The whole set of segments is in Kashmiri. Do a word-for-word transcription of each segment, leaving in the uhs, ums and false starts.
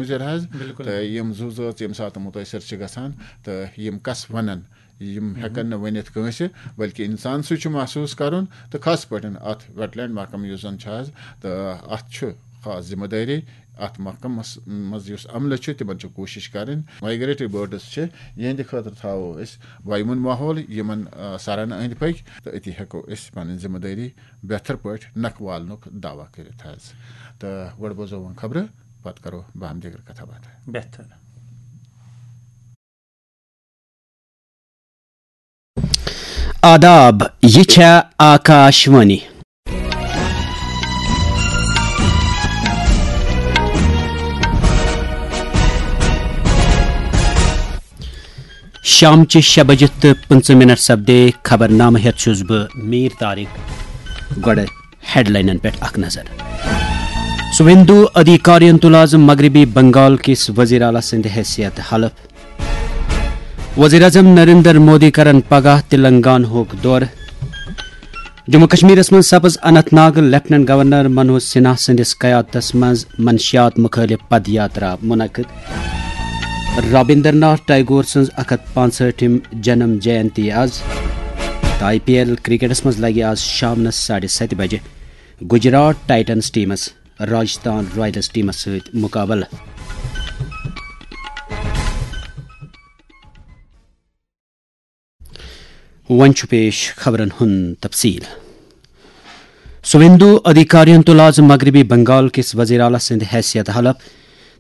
مُضِر حظ۔ بِلکُل۔ تہٕ یِم زُو زٲژ ییٚمہِ ساتہٕ مُتٲثِر چھِ گژھان، تہٕ یِم کَس وَنَن، یِم ہٮ۪کَن نہٕ ؤنِتھ کٲنٛسہِ، بلکہِ اِنسان سٕے چھُ محسوٗس کَرُن۔ تہٕ خاص پٲٹھۍ اَتھ ویٹ لینڈ محکمہٕ یُس زَن چھُ حظ، تہٕ اَتھ چھُ خاص ذِمہٕ دٲری۔ اَتھ محکمَس منٛز یُس عملہٕ چھُ، تِمَن چھِ کوٗشِش کَرٕنۍ۔ مایگریٹری بٲرڈٕز چھِ، یِہِنٛدِ خٲطرٕ تھاوو أسۍ وایوُن ماحول، یِمَن، آ، سَرَن أنٛدۍ پٔکۍ، تہٕ أتی ہٮ۪کو أسۍ پَنٕنۍ ذِمہٕ دٲری بہتر پٲٹھۍ نَکھٕ والنُک دعویٰ کٔرِتھ حظ۔ تہٕ گۄڈٕ بوزو وۄنۍ خبرٕ، پَتہٕ کَرو باہم دیگر کَتھا باتھا۔ بہتر۔ آداب، یہِ چھےٚ آکاشوانی۔ شامچہِ شےٚ بجہِ تہٕ پٕنٛژٕہ منٹ سپدے۔ خبرنامہٕ ہٮ۪تھ چھُس بہٕ میٖر طارق۔ گۄڈٕ ہیڈلاینن پٮ۪ٹھ اکھ نظر۔ سویندو ادھیکارین تُل آز مغربی بنگال کِس وزیر اعلیٰ سٕنٛدِ حیثیت حلف۔ وزیر اعظم نریندر مودی کرن پگاہ تلنگانہُک دورٕ۔ جموں کشمیرس منٛز سپٕز اننت ناگ لیفٹیننٹ گورنر منوج سنہا سٕنٛدِس قیادتس منٛز منشیات مُخٲلف پد یاترا منعقد۔ رابندر ناتھ ٹیگور سٕنٛز اکھ ہتھ پانٛژہٲٹھِم جنم جینتی از۔ تہٕ آئی پی ایل کرکٹس منٛز لگہِ از شامنس ساڑِ ستہِ بجہِ گجرات ٹائٹنز ٹیمس راجستھان رائلز ٹیمس سۭتۍ مقابلہٕ۔ وۄنۍ چھُ پیش خبرن ہُنٛد تفصیل۔ سویندو ادھیکارین تُل آز مغربی بنگال کِس وزیر اعلیٰ سٕنٛدِ حیثیت حلف۔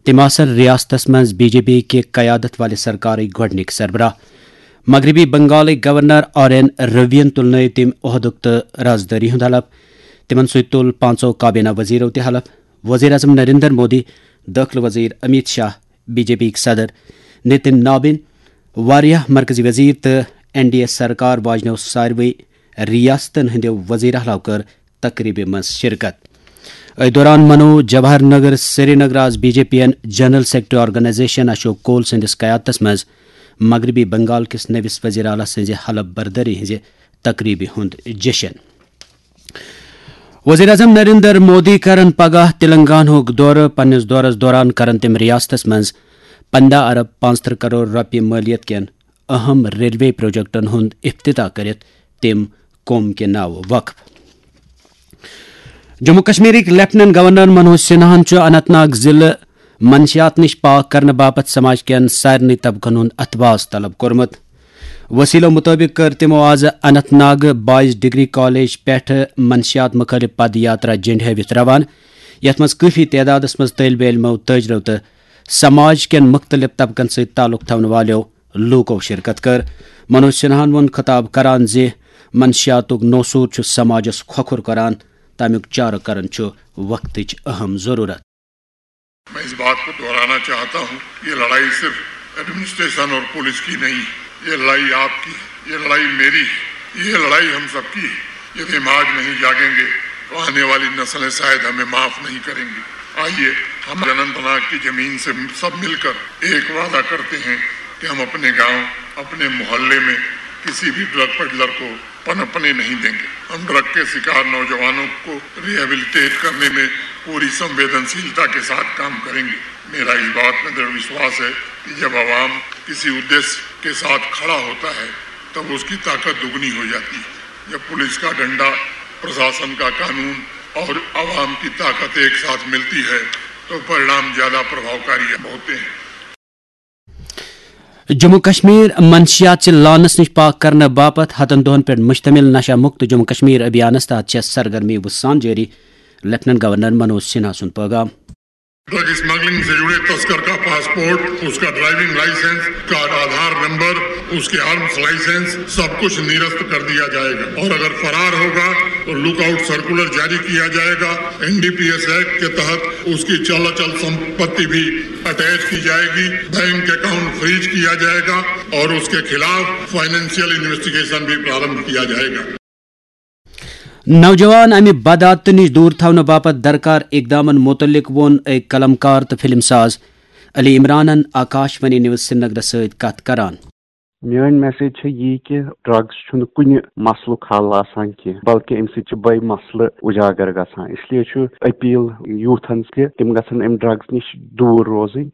تِم آسن ریاستس منٛز بی جے پی کہِ قیادت والہِ سرکارٕکۍ گۄڈٕنِکۍ سربراہ۔ مغربی بنگالٕکۍ گورنر آر این روین تُلنٲوۍ تِم عہدُک تہٕ رازدٲری ہُنٛد حلف۔ تِمن سۭتۍ تُل پانٛژو کابینہ وزیرو تہِ حلف۔ وزیر اعظم نریندر مودی، دٲخلہٕ وزیر Amit Shah, B J P یِکۍ صدر نتن نابن، واریاہ مرکزی وزیر تہٕ این ڈی اے سرکار واجنیو ساروٕے ریاستن ہٕنٛدیو وزیر اعلیٰ کٔر تقریبہِ منٛز شرکت۔ أتھۍ دوران منوو جواہر نگر سرینگر آز بی جے پی یَن جنرل سیکرٹری آرگنائزیشن اشوک کول سٕنٛدِس قیادتس منٛز مغربی بنگال کِس نٔوِس وزیر اعلیٰ سٕنٛزِ حلف بردٲری ہٕنٛزِ تقریبہِ ہُنٛد جشن۔ وزیر اعظم نریندر مودی کرن پگاہ تلنگانہُک دورٕ۔ پننِس دورس دوران کرن تِم ریاستس منٛز پنٛداہ ارب پانٛژترٕہ کرور رۄپیہِ مٲلیت کٮ۪ن اہم ریلوے پروجیکٹن ہُنٛد افتتاح کٔرِتھ تِم قوم کہِ ناوٕ وقف۔ جموں کشمیرٕکۍ لیفٹیننٹ گورنر منوج سنہاہن چھُ اننت ناگ ضلعہٕ منشیات نِش پاک کرنہٕ باپتھ سماج کٮ۪ن سارنٕے طبقن ہُنٛد اتھواز طلب کوٚرمُت۔ وسیلو مُطٲبِق کٔر تِمو آز Anant Nag boys degree college پٮ۪ٹھٕ منشیات مُخٲلف پد یاترا جنڈِ ہٲوِتھ روانہٕ، یتھ منٛز کٲفی تعدادس منٛز طٲلبہِ علمو، تٲجرو تہٕ سماج کٮ۪ن مُختٔلِف طبقن سۭتۍ تعلق تھاونہٕ والٮ۪و لوٗکو شرکت کٔر۔ منوج سنہاہن ووٚن خطاب کران زِ منشیاتُک نوسوٗر چھُ سماجس کھۄکھُر کران، تمیُک چارٕ کرُن چھُ وقتٕچ اہم ضروٗرت۔ میں اس بات کو دہرانا چاہتا ہوں، یہ لڑائی صرف ایڈمنسٹریشن اور پولیس کی نہیں، یہ لڑائی آپ کی، یہ لڑائی میری، یہ لڑائی ہم سب کی ہے۔ یدی ہم آج نہیں جاگیں گے تو آنے والی نسلیں شاید ہمیں معاف نہیں کریں گی۔ آئیے، ہم اننت ناگ کی زمین سے سب مل کر ایک وعدہ کرتے ہیں کہ ہم اپنے گاؤں، اپنے محلے میں کسی بھی ڈرگ پیڈلر کو پنپنے نہیں دیں گے۔ ہم ڈرگ کے شکار نوجوانوں کو ریہیبلیٹیٹ کرنے میں پوری سنویدنشیلتا کے ساتھ کام کریں گے۔ میرا اس بات میں دڑھ وشواس ہے کہ جب عوام کسی ادیش کے ساتھ کھڑا ہوتا ہے، تب اس کی طاقت دگنی ہو جاتی ہے۔ جب پولیس کا ڈنڈا، پرشاسن کا قانون اور عوام کی طاقت ایک ساتھ ملتی ہے، تو پرینام زیادہ پربھاوکاری ہوتے ہیں۔ جموں کشمیر منشیات چہِ لعنس نِش پاک کرنہٕ باپتھ ہتن دۄہن پٮ۪ٹھ مشتمل نشہ مکت جموں کشمیر ابھیانس تحت چھےٚ سرگرمی وُسان جٲری، لیفٹیننٹ گورنر منوج سنہا سُنٛد پٲغام۔ ڈرگ اسمگلنگ سے جڑے تسکر کا پاسپورٹ، اس کا ڈرائیونگ لائسنس، اس کا آدھار نمبر، اس کے آرمز لائسنس، سب کچھ نرست کر دیا جائے گا اور اگر فرار ہوگا تو لک آؤٹ سرکولر جاری کیا جائے گا۔ N D P S act کے تحت اس کی چل اچل سمپتی بھی اٹیچ کی جائے گی، بینک اکاؤنٹ فریز کیا جائے گا اور اس کے خلاف فائنینشیل انویسٹیگیشن بھی پرارمبھ کیا جائے گا۔ نوجوان امہِ بدعاتہٕ نِش دوٗر تھاونہٕ باپتھ درکار اقدامن مُتعلق ووٚن أکۍ قلم کار تہٕ فلم ساز علی عمرانن آکاش وانی نیوز سرینگرس سۭتۍ کتھ کران۔ میٲنۍ میسیج چھےٚ یی کہِ ڈرگز چھُنہٕ کُنہِ مسلُک حل آسان کینٛہہ، بلکہِ امہِ سۭتۍ چھِ بٔے مسلہٕ اجاگر گژھان۔ اس لیے چھُ اپیل یوٗتھن کہِ تِم گژھن امہِ ڈرگز نِش دوٗر روزٕنۍ۔